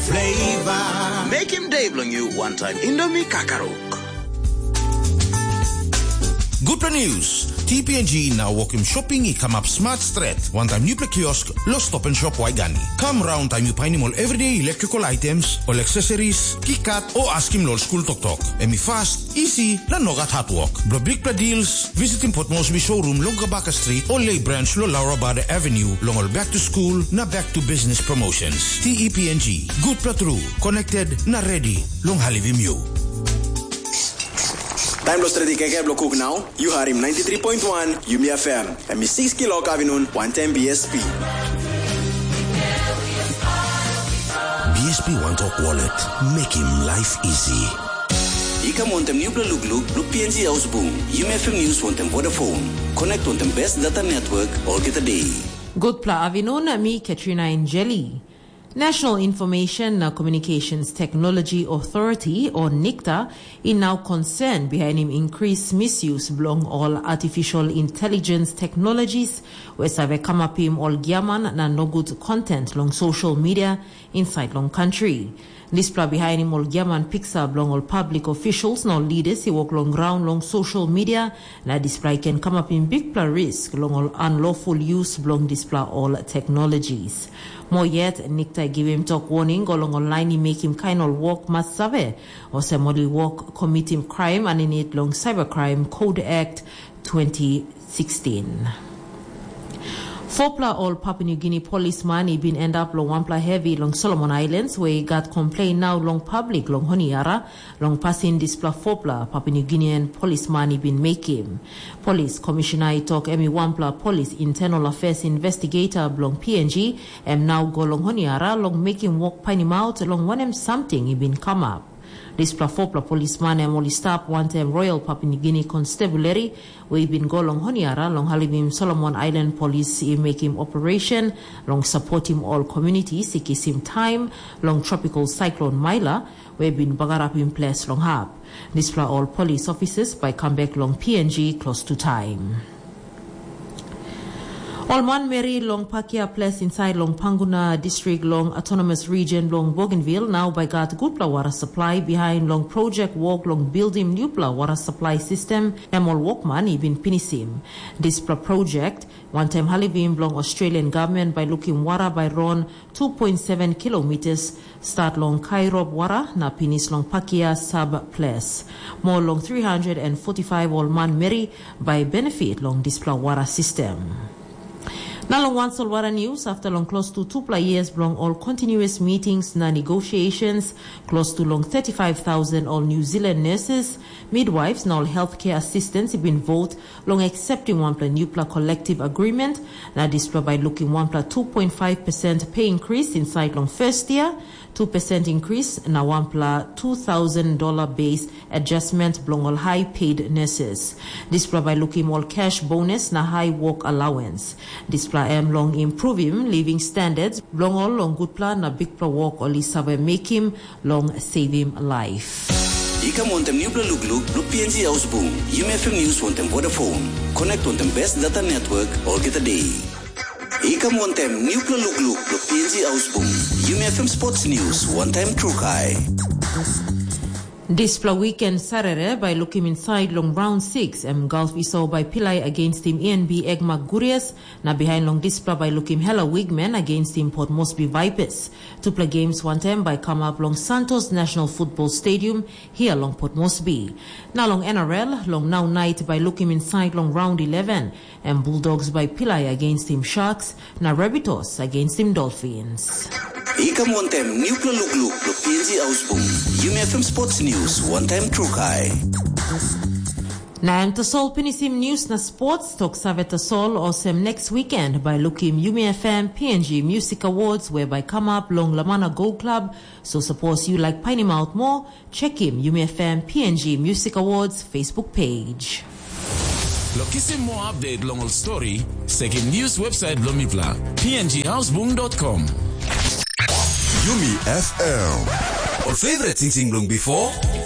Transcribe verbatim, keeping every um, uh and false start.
Flavor. Make him day bilong you one time Indomie Kakaruk. Gutpela news. T P N G na wokim shopping i kamap smart stret. Wantaim newpela kiosk, lo Stop and Shop Waigani. Kam raun taim yu painim ol everyday electrical items, ol accessories, kikat, o askim lo ol skul toktok. Em i fast, easy, na nogat hard work. Blo bigpela deals, visitim Port Moresby showroom long Kabaka Street o Lay Branch lo Laura Bada Avenue long ol back to school na back to business promotions. T E P N G, gutpela tru, connected na ready long helpim yu. Taim blo stretim kaikai blo kuk nau, yu harim ninety three point one Yumi F M. Em i six kilok avinun, wantaim B S P. B S P One Talk Wallet, making life easy. I kam wantaim nupela lukluk blo P N G Haus Bung, Yumi F M News wantaim Vodafone. Connect wantaim best data network olgeta day. Gutpela avinun, mi Katrina Enjeli. National Information na Communications Technology Authority, o NICTA, i nau concern bihainim increase misuse bilong ol artificial intelligence technologies we save kamapim ol giaman na nogut content long social media inside long country. Dispela bihainim ol giaman piksa bilong ol public officials na ol leaders i wok long graun long social media, na dispela i ken kamapim bikpela risk long ol unlawful use bilong dispela ol technologies. Mo yet, NICTA i givim tok warning go long ol lain i mekim kain ol wok mas save, olsem ol i wok komitim kraim aninit long Cybercrime Code Act twenty sixteen. Fopela ol Papua New Guinea polisman i bin endap long wanpela hevi long Solomon Islands, we i gat komplein nau long public long Honiara, long pasin dispela fopela Papua New Guinean polisman i bin mekim. Polis komishena i tok em i wanpela polis internal affairs investigator bilong P N G, em nau go long Honiara long mekim wok painimaut long wanem samting i bin kamap. Dispela fopela polisman em ol i stap wantaim Royal Papua New Guinea Constabulary, we i bin go long Honiara long helpim Solomon Island Polis i mekim operation long sapotim ol communities i kisim taim long Tropical Cyclone Maila, we bin bagarapim ples long hap. Dispela ol polis ofisas bai kam bek long P N G klostu taim. Ol manmeri long Pakia ples insait long Panguna distrik long autonomous region bilong Bougainville nau bai gat gutpela wara supply bihain long projek wok long bildim nupela wara supply system em ol wokman i bin pinisim. Dispela projek wantaim helpim bilong Australian government bai lukim wara bai ron two point seven kilometers, start long Kairop wara na pinis long Pakia sub ples. Mo long three hundred and forty-five ol manmeri bai benefit long dispela wara system. Na long wan solwara news, after long close to tupela years bilong ol continuous meetings na negotiations, close to long thirty-five thousand ol New Zealand nurses, midwives na ol healthcare assistants i bin vote long accepting wanpela nupela collective agreement, na dispela bai lukim wanpela two point five percent pay increase inside long first year, two percent increase na wanpela two thousand dollar base adjustment bilong ol high paid nurses. Dispela bai lukim ol cash bonus na high work allowance. Dispela em long improvim living standards bilong ol long gutpela na bikpela wok ol i save mekim long savim laip. I kam wantaim nupela lukluk bilong P N G Haus Bung, Yumi F M News wantaim Vodafone. Connect wantaim best data network olgeta day. I kam wantaim nupela lukluk bilong P N G Haus Bung, Yumi F M Sports News wantaim Trukai. Dispela weekend Sarere bai lukim inside long round six, em Gulf Iso bai pilai against tim E N B Egma Gurias, na behind long dispela bai lukim Hela Wigman against tim Port Moresby Vipers. Tupela games wantaim bai come up long Santos National Football Stadium here long Port Moresby. Na long N R L, long nau night bai lukim inside long round eleven, em Bulldogs bai pilai against tim Sharks, na Rabbitohs against tim Dolphins. I kam wantaim nupela lukluk bilong P N G Haus Bung, Yumi F M Sports News wantaim Trukai. Na em tasol pinisim news na sports tok save tasol olsem next weekend bai lukim Yumi F M P N G Music Awards we bai come up long Lamana Go Club, so suppose you like painim out more, check him Yumi F M P N G Music Awards Facebook page. Lo kisim more update long ol story, sekim news website bilong mipela, P N G Hausbung dot com. Yumi F M. Ol favorite sing sing bilong before.